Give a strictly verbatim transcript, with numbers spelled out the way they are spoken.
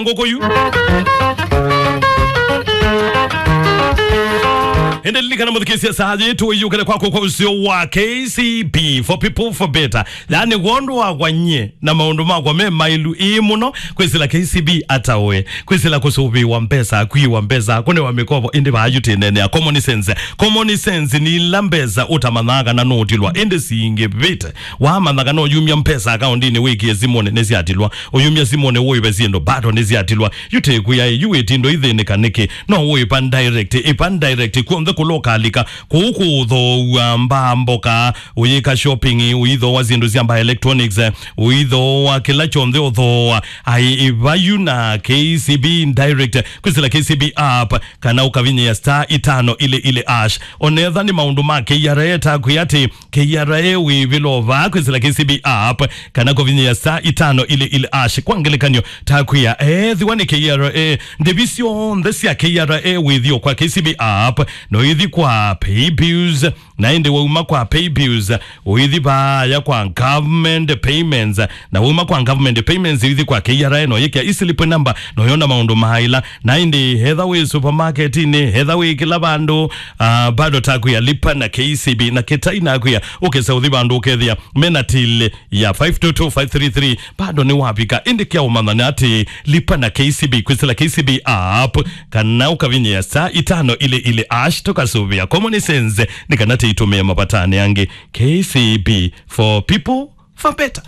ngũkũ yu. Ĩndĩ lilikana mũthikĩĩsya saa yĩĩ tũiyũkĩle kwakũ kwa ũseo wa K C B, for people, for better. Yaani, wondũ wakwa nyie na maũndũ makwa me maĩlu ĩĩ mũno, kwĩsĩla K C B ataũe, kwĩsĩla kũsũvĩwa mbesa, kwiwa mbesa, kũnewa mĩkovo, ĩndĩ vaa yu tĩneenea common sense. Common sense nĩ ila mbesa ũtamanyaa kana nũũtilwa, ĩndĩ singĩvĩte. Wamanya kana ũyumya mbesa akaũndinĩ wĩkĩe simũnĩ nĩsyatilwa, ũyumya simũnĩ ũĩve syĩndũ bado nĩsyatilwa. Yu tĩkwĩa yu wĩtindo ithĩnĩka nĩkĩ? No ũĩva direct, ĩva direct kw'onthe kũla ũkalika. Kũu kũũthoow'a mbaa mboka, ũyĩka shopping, ũithooa syĩndũ sya mbaa electronics, ũithooa kĩla kyonthe ũthooa. Ai, ĩva yu na K C B direct, kwĩsĩla K C B app, kana ũkavinyĩa star itano ili ili ash. Onetha nĩ maũndũ ma K R A ta kwĩ atĩ K R A wĩvĩlo vaa kwĩsĩla K C B app, kana kũvinyĩa star itano ili ili ash. Kwa ngelekany'o, ta kwĩa, ethĩwa nĩ K R A, ndĩvi syonthe sya K R A wĩthio kwa K C B app, no ithi kwa pay bills, na ĩndĩ wauma kwa pay bills, ũithi vaaya kwa government payments, na wauma kwa government payments, ũithi kwa K R A, no yĩkĩa e-slip number, no yona maũndũ maila. Na ĩndĩ etha wĩ supermarketinĩ, etha wĩ kĩla vandũ, ah, bado ta kwĩa lipa na K C B, na kĩtai na kwĩa, ũkesa ũthi vandũ ũkethĩa mena till ya five two two five three three, bado nĩ wavika. Ĩndĩ kya ũmanya nĩ atĩ lipa na K C B, kwĩsĩla K C B app, kana ũkavinyĩa star itano ili ili ash, tũkasũvĩa common sense nĩ kana tĩitũmĩe mavatani angĩ. K C B, for people, for better.